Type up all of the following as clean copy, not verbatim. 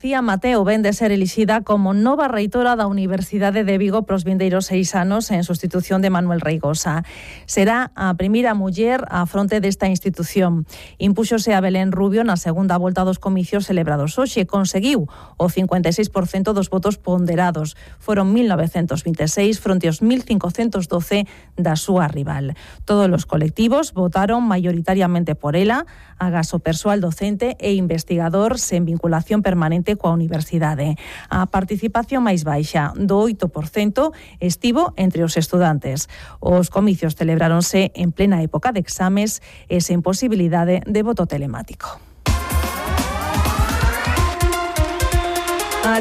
Cía Mateo ven de ser elixida como nova reitora da Universidade de Vigo pros vindeiros 6 anos en sustitución de Manuel Reigosa. Será a primeira muller á fronte desta institución. Impúxose a Belén Rubio na segunda volta dos comicios celebrados hoxe. Conseguiu o 56% dos votos ponderados. Foron 1926 fronte aos 1512 da súa rival. Todos os colectivos votaron maioritariamente por ela, agás o persoal docente e investigador sen vinculación permanente coa universidade. A participación máis baixa, do 8%, estivo entre os estudantes. Os comicios celebráronse en plena época de exames e sen posibilidade de voto telemático.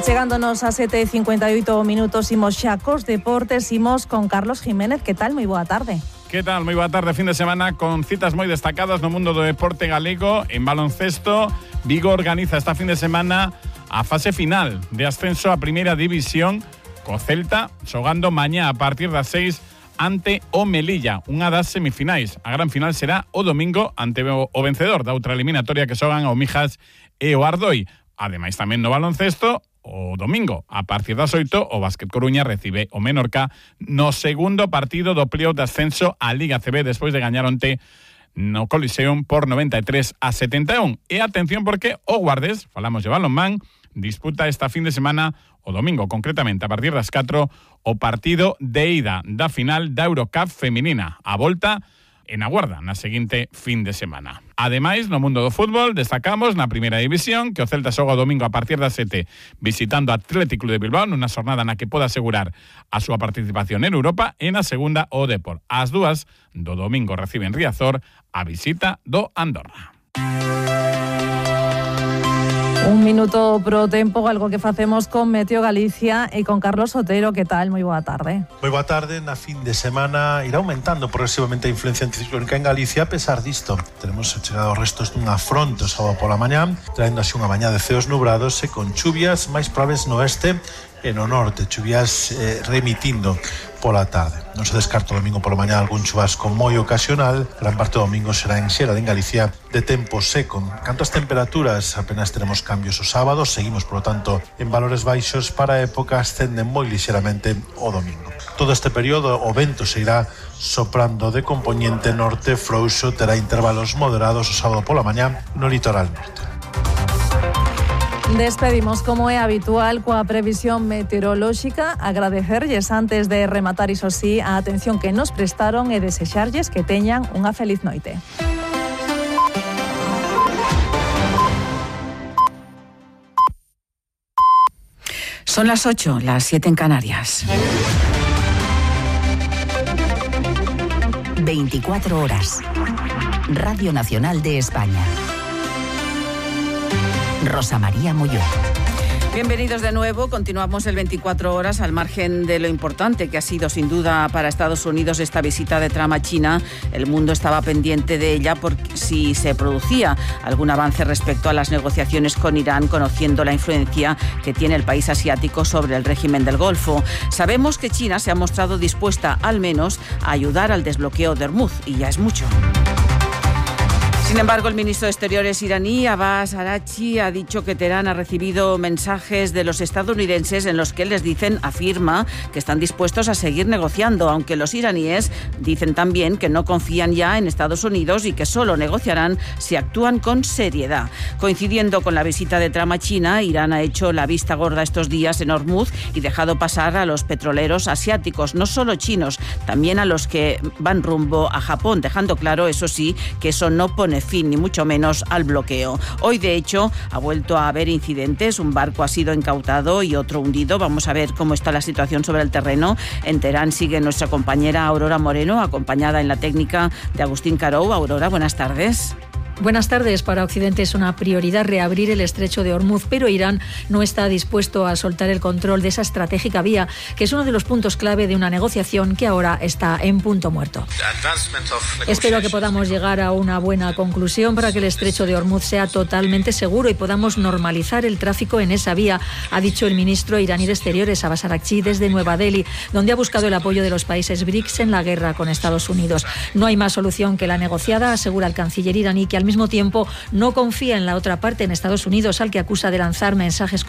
Chegándonos a 7:58 minutos, imos xa cos deportes, imos con Carlos Jiménez. Que tal? Moi boa tarde. Que tal? Moi boa tarde, fin de semana con citas moi destacadas no mundo do deporte galego. En baloncesto, Vigo organiza esta fin de semana a fase final de ascenso a Primeira División co Celta xogando mañá a partir das 6 ante o Melilla, unha das semifinais. A gran final será o domingo ante o vencedor da outra eliminatoria que xogan o Mijas e o Ardoi. Ademais tamén no baloncesto, o domingo, a partir das 8, o Básquet Coruña recibe o Menorca no segundo partido do playoff de ascenso á Liga CB despois de gañar onte no Coliseum por 93-71. E atención porque o Guardes, falamos de balonmán, disputa esta fin de semana o domingo, concretamente a partir das 4, o partido de ida da final da Eurocup feminina. A volta en aguarda na seguinte fin de semana. Ademais, no mundo do fútbol, destacamos na Primeira División que o Celta xoga o domingo a partir das 7 visitando a Atlético de Bilbao nunha xornada na que poda asegurar a súa participación en Europa, e na segunda o Depor. As dúas do domingo reciben Riazor a visita do Andorra. Un minuto pro tempo, algo que facemos con Meteo Galicia e con Carlos Otero. Que tal? Moi boa tarde. Moi boa tarde. Na fin de semana irá aumentando progresivamente a influencia anticiclónica en Galicia. A pesar disto, tenemos chegado os restos dunha fronte o sábado pola mañá, traendo así unha mañá de ceos nubrados e con chuvias máis probables no oeste e no norte, chuvias remitindo pola tarde. Non se descarta o domingo pola mañá algún chubasco moi ocasional. Gran parte do domingo será en xeral en Galicia de tempo seco. Canto ás temperaturas, apenas teremos cambios o sábado, seguimos, por lo tanto, en valores baixos. Para a época ascenden moi lixeramente o domingo. Todo este período o vento se irá soprando de compoñente norte frouxo, terá intervalos moderados o sábado pola mañá no litoral norte. Despedimos, como é habitual, coa previsión meteorolóxica. Agradecerlles antes de rematar, iso sí, a atención que nos prestaron e desexarlles que teñan unha feliz noite. Son las 8, las 7 en Canarias. 24 horas. Radio Nacional de España. Rosa María Molló. Bienvenidos de nuevo. Continuamos el 24 horas al margen de lo importante que ha sido sin duda para Estados Unidos esta visita de Trump a China. El mundo estaba pendiente de ella por si se producía algún avance respecto a las negociaciones con Irán, conociendo la influencia que tiene el país asiático sobre el régimen del Golfo. Sabemos que China se ha mostrado dispuesta al menos a ayudar al desbloqueo de Hormuz, y ya es mucho. Sin embargo, el ministro de Exteriores iraní, Abbas Araghchi, ha dicho que Teherán ha recibido mensajes de los estadounidenses en los que afirma que están dispuestos a seguir negociando, aunque los iraníes dicen también que no confían ya en Estados Unidos y que solo negociarán si actúan con seriedad. Coincidiendo con la visita de Trump a China, Irán ha hecho la vista gorda estos días en Hormuz y dejado pasar a los petroleros asiáticos, no solo chinos, también a los que van rumbo a Japón, dejando claro, eso sí, que eso no pone fin ni mucho menos al bloqueo. Hoy, de hecho, ha vuelto a haber incidentes. Un barco ha sido incautado y otro hundido. Vamos a ver cómo está la situación sobre el terreno. En Teherán sigue nuestra compañera Aurora Moreno, acompañada en la técnica de Agustín Carou. Aurora, buenas tardes. Buenas tardes. Para Occidente es una prioridad reabrir el estrecho de Hormuz, pero Irán no está dispuesto a soltar el control de esa estratégica vía, que es uno de los puntos clave de una negociación que ahora está en punto muerto. Espero que podamos llegar a una buena conclusión para que el estrecho de Hormuz sea totalmente seguro y podamos normalizar el tráfico en esa vía, ha dicho el ministro iraní de Exteriores, Abbas Araghchi, desde Nueva Delhi, donde ha buscado el apoyo de los países BRICS en la guerra con Estados Unidos. No hay más solución que la negociada, asegura el canciller iraní, que al mismo tiempo no confía en la otra parte, en Estados Unidos, al que acusa de lanzar mensajes